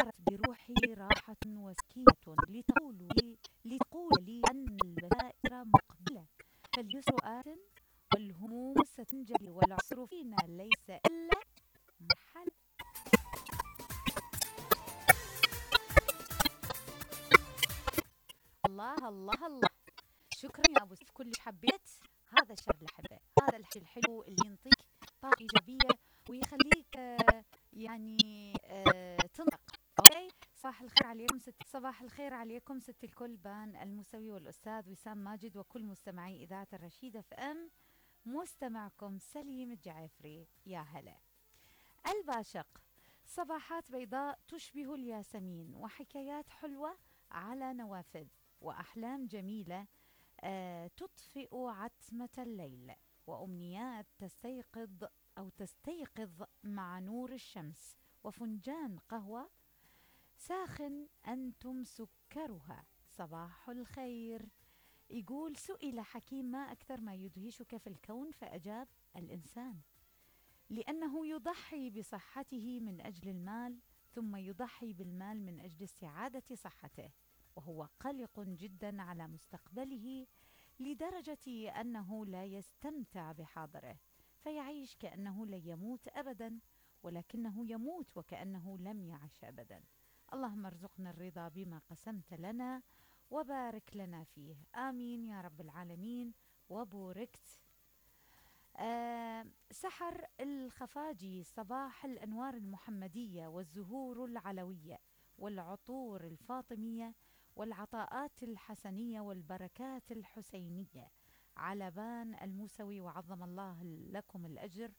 شعرت بروحي راحة وسكينة لتقول لي أن البشائر مقبلة، فاليسر آت والهموم ستنجلي والعسر فينا ليس إلا مرحلة. الله الله الله، شكرا يا أبو سيف، كلش حبيت هذا الشعر اللي أحبه، هذا الحكي الحلو اللي ينطيك طاقة إيجابية ويخليك يعني تنطق. أوكي، صباح الخير عليكم صباح الخير عليكم ست الكل، بان الموسوي والأستاذ وسام ماجد وكل مستمعي إذاعة الرشيد اف ام، مستمعكم سليم الجعفري. يا هلا. الباشق، صباحات بيضاء تشبه الياسمين، وحكايات حلوة على نوافذ، وأحلام جميلة تطفئ عتمة الليل، وأمنيات تستيقظ مع نور الشمس، وفنجان قهوة ساخن أنتم سكرها. صباح الخير. يقول سئل حكيم ما أكثر ما يدهشك في الكون، فأجاب الإنسان، لأنه يضحي بصحته من أجل المال، ثم يضحي بالمال من أجل استعادة صحته، وهو قلق جدا على مستقبله لدرجة أنه لا يستمتع بحاضره، فيعيش كأنه لن يموت أبدا، ولكنه يموت وكأنه لم يعش أبدا. اللهم ارزقنا الرضا بما قسمت لنا وبارك لنا فيه، آمين يا رب العالمين. وبوركت. سحر الخفاجي، صباح الأنوار المحمدية والزهور العلوية والعطور الفاطمية والعطاءات الحسنية والبركات الحسينية على بان الموسوي، وعظم الله لكم الأجر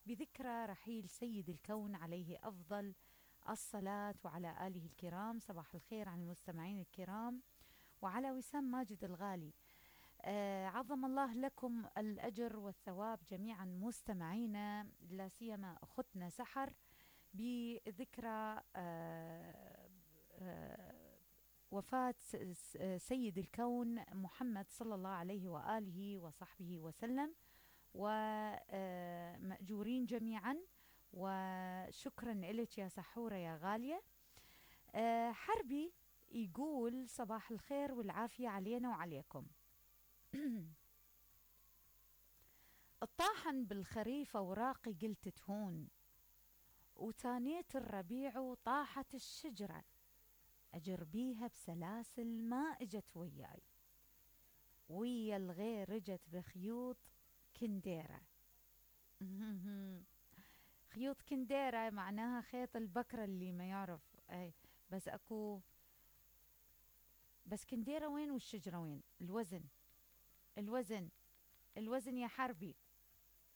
بذكرى رحيل سيد الكون عليه أفضل الصلاة وعلى آله الكرام. صباح الخير عن المستمعين الكرام، وعلى وسام ماجد الغالي. عظم الله لكم الأجر والثواب جميعا مستمعينا، لا سيما أختنا سحر بذكرى وفاة سيد الكون محمد صلى الله عليه وآله وصحبه وسلم، ومأجورين جميعا، وشكرا لك يا سحورة يا غالية. حربي يقول صباح الخير والعافية علينا وعليكم. الطاحن بالخريف أوراقي قلت تهون، وتانيت الربيع وطاحت الشجرة، أجر بيها بسلاسل ما اجت وياي، ويا الغير اجت بخيوط كنديرة. خيوط كنديرة معناها خيط البكرة اللي ما يعرف. اي بس اكو، بس كنديرة وين والشجرة وين؟ الوزن الوزن الوزن يا حربي.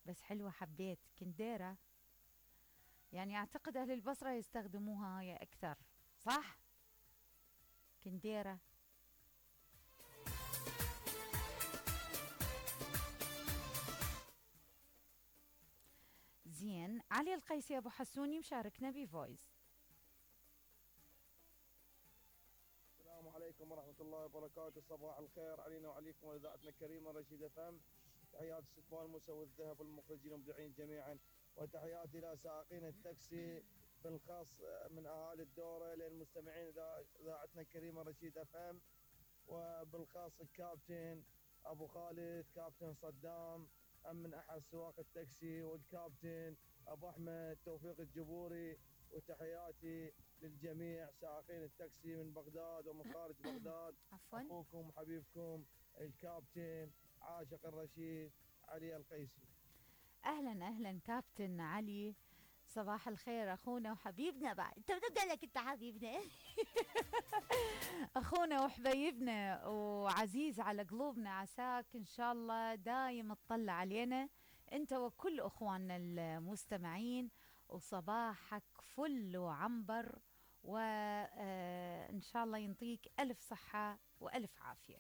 بس حلوة، حبيت كنديرة، يعني اعتقد اهل البصرة يستخدموها هاي اكثر، صح؟ كنديرة. زين. علي القيسي ابو حسوني مشاركنا بفويس. السلام عليكم ورحمة الله وبركاته، صباح الخير علينا وعليكم وإذاعتنا الكريمة رشيد اف ام. تحيات الستمان موسى والذهب والمخرجين والمذيعين جميعا، وتحياتي إلى سائقين التاكسي بالخاص من أهالي الدورة للمستمعين إذاعتنا الكريمة رشيد اف ام، وبالخاص الكابتن أبو خالد، كابتن صدام من أحد سواق التاكسي، والكابتن أبو أحمد توفيق الجبوري، وتحياتي للجميع سائقين التاكسي من بغداد ومن خارج بغداد. عفوا. أخوكم حبيبكم الكابتن عاشق الرشيد علي القيسي. اهلا اهلا كابتن علي، صباح الخير اخونا وحبيبنا. بعد انت بتبدا لك انت حبيبنا. اخونا وحبيبنا وعزيز على قلوبنا، عساك ان شاء الله دايم تطلع علينا انت وكل اخواننا المستمعين، وصباحك فل وعنبر، وان شاء الله ينطيك الف صحة والف عافية.